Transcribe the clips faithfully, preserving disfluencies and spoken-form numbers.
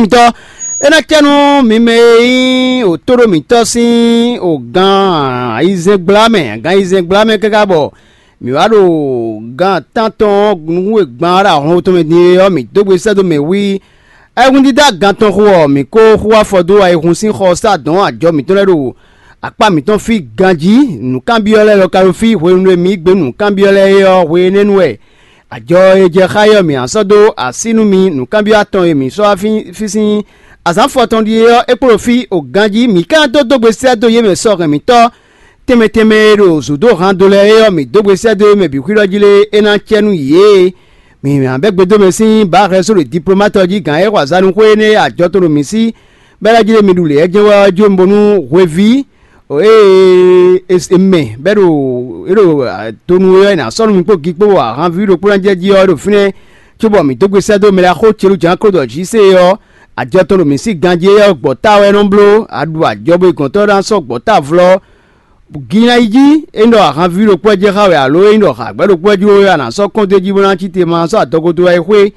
Tɔ é ná cɛ nú mi mɛ e nyí òtóɖó mǐtɔn sín ògán ayizɛ́ngbla mɛ, agán ayizɛ́ngbla mɛ káká bɔ mǐ wá ɖo gan tántɔn nukún e gban wá ɖo ahɔn tɔn mɛ din é ɔ́, mǐ dó gbe sɛ́ dó mɛ wí. Ayihún dídá gan tɔn xo ɔ́, mǐ ko xú afɔ dó ayihún sín xɔ sá dɔn ajɔ mǐtɔn lɛ́ɛ ɖo akpá mǐtɔn fí ganjí. Nǔkanbyɔ́ lɛ́ɛ lɔ ka ɖo fí hwenu e mǐ gbé nǔkanbyɔ́ lɛ́ɛ é ɔ́, hwe énɛ́ nu wɛ ajɔ e jɛ xá é ɔ́, mǐ ná sɔ́ dó así nú mi. Nǔkanbyɔ́ atɔn e mǐ sɔ́ wá fí sín azǎn fɔtɔn ɖíe ɔ́, é kpo ɖo fí o ganjí. Mǐ ka dó dó gbe sɛ́ dó yě mɛ sɔ́ hɛn mǐtɔn tɛnmɛ tɛnmɛ e ɖo zǔ dó han do lɛ́ɛ é ɔ́, mǐ dó gbe sɛ́ dó yě mɛ bǐ xwíɖɔ jí lé, é ná cɛ nú yě. Mǐ ná bɛ́ gbe dó mɛ sín bǎ hɛn só ɖo diplomátɔ jí gǎn e xɔ azǎn nú xwé énɛ́ e ajɔ tɔn ɖo mǐ sí bɛ́ lɛ́ jí lé mi ɖu lě ɔ́ jɛ́n wɛ ɔ́ jó mi bónú hweví ée è mɛ bɛ́ ɖo é ɖo donu é ɔ́, è nǎ sɔ́ nú mi kpó gi kpó ahanví ɖokpó ná jɛ jí ɔ́ ɖo fínɛ́, cóbɔ mǐ dó gbe sɛ́ dó mɛ lɛ́ɛ xó celú jǎn kó ɖɔ jǐ se é ɔ́, ajɔ tɔn ɖo mǐ sí ganjí é ɔ́, gbɔ̌ ta wɛ é nɔ bló. A ɖu ajɔ bo yi gɔ̌ntɔ́ ná sɔ́ gbɔ̌ ta vlɔ́. Gi ná yi jí, é nyí ɖɔ ahanví ɖokpó wɛ jɛ xá wɛ alo é nyí ɖɔ hǎgbɛ́ ɖokpó wɛ jló wɛ a nǎ sɔ́ kɔn dó é jí bó ná cí te ma sɔ́ adɔgo dó wá yi xwé.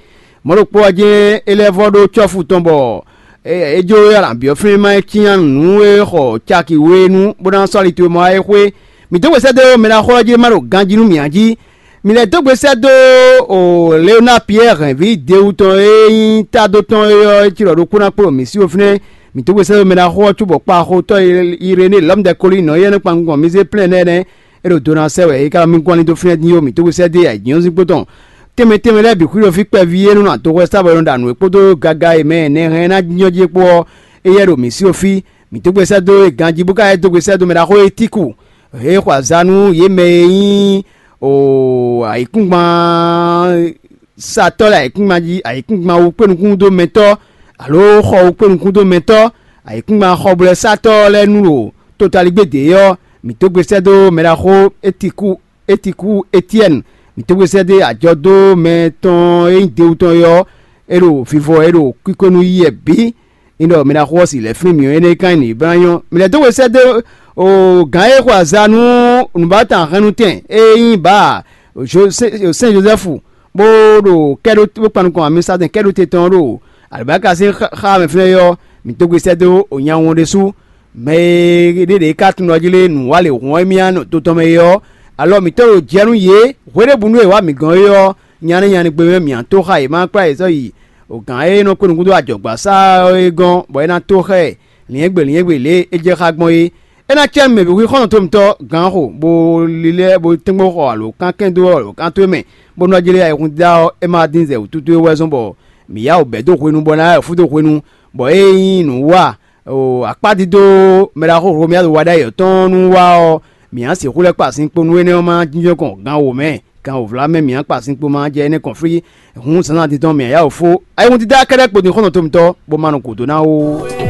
Mɔ̌ ɖokpó wɛ jɛ́n é lɛ́ vɔ́ ɖó cɔ́fu tɔn bɔ é jló wɛ a nǎ byɔ́ flín má é cyán nǔ e xɔ caki we nu bó ná sɔ́ ali towe mɔ wá yi xwé. Mǐ dó gbe sɛ́ dó mɛ ná xɔ ɔ́ jí má ɖo ganjí nú mǐ ǎ jí. Mǐ lɛ́ dó gbe sɛ́ dó o Leonard Pierre hɛ̌nví Dewu tɔn e nyí tado tɔn é ɔ́, é cí ɖɔ ɖokpó ná kplɔ́n mǐ sí wo fínɛ́. Mǐ dó gbe sɛ́ dó mɛ ná xɔ ɔ́ cóbɔ kpaxotɔ́ Iréné Lɔ̌mudɛ́kólí nɔ éyɛ́ nɔ kpan gun mǐ zé plɛ́n nɛ́ nɛ́. É ɖo do ná sɛ́ wɛ é ka nɔ mì gɔ́n ali dó fínɛ́ din ó. Mǐ dó gbe sɛ́ dó ayǐjínjɔ́n sín kpó tɔn tɛnmɛ tɛnmɛ lɛ́ɛ bǐ xwíɖɔ fí kpɛví e nɔ nɔ adɔxɔ sa bɔ é nɔ ɖo nǔ e kpódó gaga e mɛ nɛhɛn ná jínjɔ́n jí é kpó ɔ́, éyɛ́ ɖo mǐ sí wo fí. Mǐ dó gbe sɛ́ dó é ganjí bó ka lɛ́ dó gbe sɛ́ dó mɛ ɖaxó e Tíku. He xɔ azǎn nú yě mɛ e nyí o ayǐkúngban satɔ́ lɛ́ɛ ayǐkúngban jí, ayǐkúngban wú kpé nukún dó mɛtɔ́, alo xɔ wú kpé nukún dó mɛtɔ́, ayǐkúngban xɔblɛ́satɔ́ lɛ́ɛ nú ɖo totaligbé dě ɔ́, mǐ dó gbe sɛ́ dó mɛɖaxó Étiku Étiku Etiɛ́ni. Mǐ dó gbe sɛ́ dó ajɔ dó mɛ tɔn e nyí Dewu tɔn é ɔ́, é ɖo vivɔ, é ɖo kwíkó nú yí wɛ bǐ. Ní ɖɔ mi ná xo ɔ́ si lɛ̌ flín mǐ ɔ́, énɛ́ ka nyí nǔ e bló ná nyɔ́. Mi lɛ́ dó we sɛ́ dó o gǎn e xo azǎn nú nǔbátan hɛnnutɛn e nyí bǎ Sɛ́n Jozɛ́fu, bó ɖo kɛ́ɖó bó kpan nukɔn amisatɛn kɛ́ɖó te tɔn ɔ́ ɖo alibáka sín xá mɛ fínɛ́ é ɔ́, mǐ dó gbe sɛ́ dó o nya wɔn ɖésú. Mɛ e ɖé ɖě ka tunwun ɖɔ jí lé nǔ wa lě hɔn émí ǎ ɖo to tɔn mɛ é ɔ́, alɔ mǐtɔn ɖo jɛ nú yě hweɖěbǔnu e è wǎ mǐ gɔ́n é ɔ́, nya nɛ́ nya nɛ́ gbe mɛ mǐ ǎ tó xa yě ma kplá yě sɔ́ yi o gǎn e nɔ kpé nukún dó ajɔ̌gbasá ɔ́ é gɔ́n, bɔ é ná tó xá ɛ lǐnyɛ́gbe lǐnyɛ́gbe lě e é jɛ xá gbɔn é. É ná cɛ́ nú mɛ bǐ xwí xɔ́ntɔn tomitɔ́ gǎn xo, bó lílɛ́ bó tɛ́ngbɔ́n xɔ alǒkankɛn dó alǒkan towe mɛ, bó nɔ́ jlé ayihún dídá ɔ́, é ma dín zɛ wǔtútú é wɛ zɔ́n bɔ mǐ yá wǔ bɛ̌ dó hwenu bɔ ná yá wǔ fú dó hwenu, bɔ é nyí nǔ wa o akpá dídó mɛɖaxó Hlomia ɖo wa ɖ'ayǐ ɔ́ tɔn nú wa ɔ́, mǐ ná sixú lɛ́ kpa sin kpo nú énɛ́ ɔ́ ma jínjɔ́n kɔn gan wǒ mɛ, gan wǒvlá mɛ mǐ ná kpa sin kpo ma jɛ énɛ́ kɔn flí. Hǔn zǎnzǎn din tɔn mǐ ná yá wǔ fó ayihún dídá kɛ́ɖɛ́ kpo din xɔ́ntɔn tomitɔ́, bó ma nɔ gǔdo ná ó.